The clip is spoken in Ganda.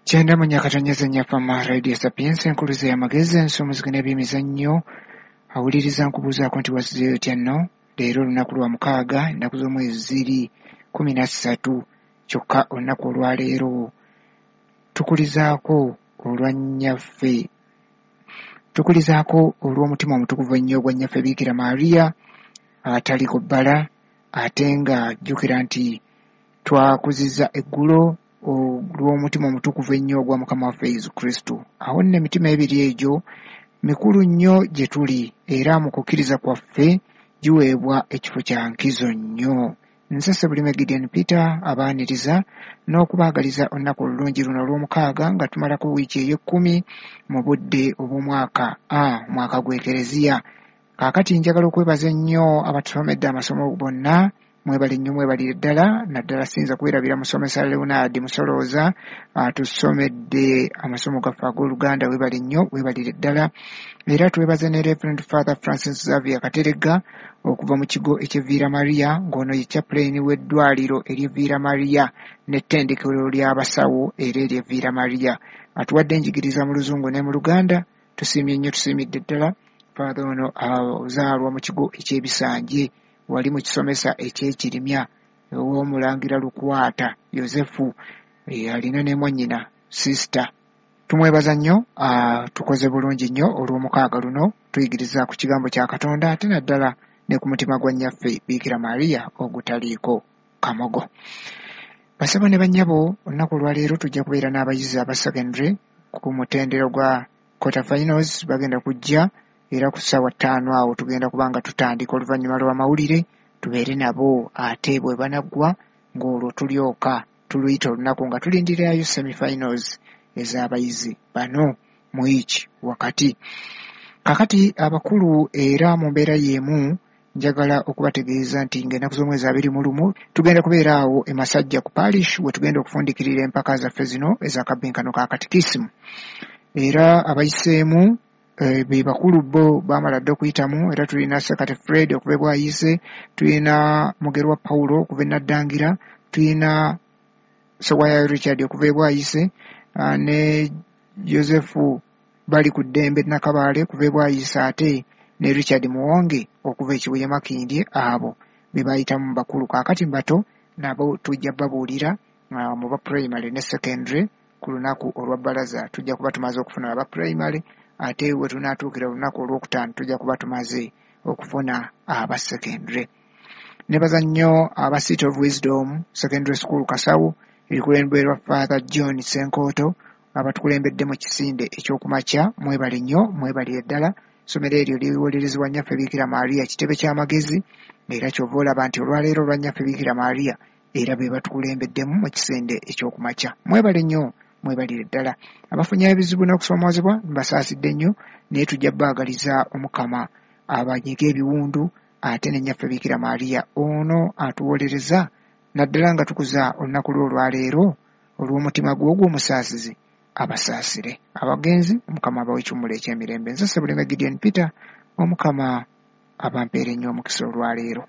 Kyenda mu nyakatonyeze Nnyafama Radio Sapientia, enkuluze y'amagezi, ensumuziki n'ebyemizannyo. Awuliriza nkubuuzaako nti wazzeeyo otya nno? Leero olunaku lwa mukaaga, ennaku z'omwezi ziri 13, kyokka olunaku olwaleero tukulizaako olwa nnyaffe, tukulizaako olw'omutima omutukuvu ennyo ogwa nnyaffe Biikira Maria ataliko bbala, ate nga jjukira nti twakuzizza eggulo olw'omutima omutukuvu ennyo ogwa Mukama waffe Yesu Kristo. Awo nno emitima ebiri egyo mikulu nnyo gye tuli, era mu kukkiriza kwaffe giweebwa ekifo kya nkizo nnyo. Nze Ssebulime Gideon Peter abaaniriza n'okubaagaliza olunaku olulungi luno olw'omukaaga nga tumalako wiiki ey'ekkumi mu budde obw'omwaka A, omwaka gw'Ekereziya. Kaakati njagala okwebaza ennyo abatusomedde amasomo bonna, mwebale nnyo mwebalire ddala, naddala siyinza kwerabira musomesa Leonard Musolooza atusomedde amasomo gaffe ag'Oluganda, weebale nnyo weebalire ddala. Era twebaze ne Reverend Father Francis Xavier Kateregga okuva mu kigo eky'e Villa Maria, ng'ono ye chaplain w'eddwaliro ery'e Villa Maria n'ettendekero ly'abasawo era ery'e Villa Maria. Atuwadde enjigiriza mu Luzungu ne mu Luganda, tusiimye nnyo tusiimidde ddala. Father ono azaalwa mu kigo eky'Ebisanje, wali mu kisomesa eky'Ekirimya ow'omulangira Lukwata Yozefu, alina ne mwannyina sister. Tumwebaza nnyo, tukoze bulungi nnyo olw'omukaaga luno, tuyigiriza ku kigambo kya Katonda ate naddala ne ku mutima gwa nnyaffe Biikira Maria ogutaliiko kamogo. Basebo ne bannyabo, olunaku olwaleero tujja kubeera n'abayizi aba secondary ku mutendera gwa quarter finals, bagenda kujja era ku ssaawa 5 awo tugenda kuba nga tutandika oluvannyuma lw'amawulire tubeere nabo, ate bwe banaggwa ng'olwo tulyoka tuluyita olunaku nga tulindirirayo semi-finals ez'abayizi bano mu wiiki wakati. Kaakati abakulu era mu mbeera y'emu njagala okubategeeza nti ng'ennaku z'omwezi 21 tugenda kubeera awo e Masajja ku parish we tugenda okufundikirira empaka zaffe zino ez'akabbinkano ka katikisimu. Era abayiseemu be bakulu bo baamala dda okuyitamu, era tulina Sekate Fred okuva e Bwayiise, tulina Mugerwa Paulo okuva e Naddangira, tulina Sewaya Richard okuva e Bwayiise, ne Joseph Bali ku ddembe Nakabaale okuva e Bwayiise, ate ne Richard Muwonge okuva e Kibuye Makindye. Abo be bayitamu mu bakulu. Kaakati mu bato nabo tujja babuulira mu ba primary ne secondary ku lunaku olwa bbalaza tujja kuba tumaze okufuna aba primary, ate we tunaatuukira olunaku olwokutaano tujja kuba tumaze okufuna aba secondary. Nebaza nnyo aba City of Wisdom Secondary School Kasawo erikulemberwa Father John Ssenkooto abatukulembedde mu kisinde eky'okumakya, mwebale nnyo mwebalire ddala. Essomero eryo liwolerezebwa nnyaffe Biikira Maria kitebe ky'amagezi, era ky'ova olaba nti olwaleero olwa nnyaffe Biikira Maria era be batukulembeddemu mu kisinde eky'okumakya. Mwebale nnyo mwebalire ddala. Abafunye ebizibu n'okusoomoozebwa mbasaasidde nnyo, naye tujja baagaliza Omukama abanyiga ebiwundu, ate ne nnyaffe Biikira Maria ono atuwolereza naddala nga tukuza olunaku lwe olwaleero olw'omutima gwe ogw'omusaasizi abasaasire. Abagenzi Omukama abawe ekiwummulo eky'emirembe. Nze Ssebulime Gideon Peter, Omukama abampeere nnyo omukisa olwaleero.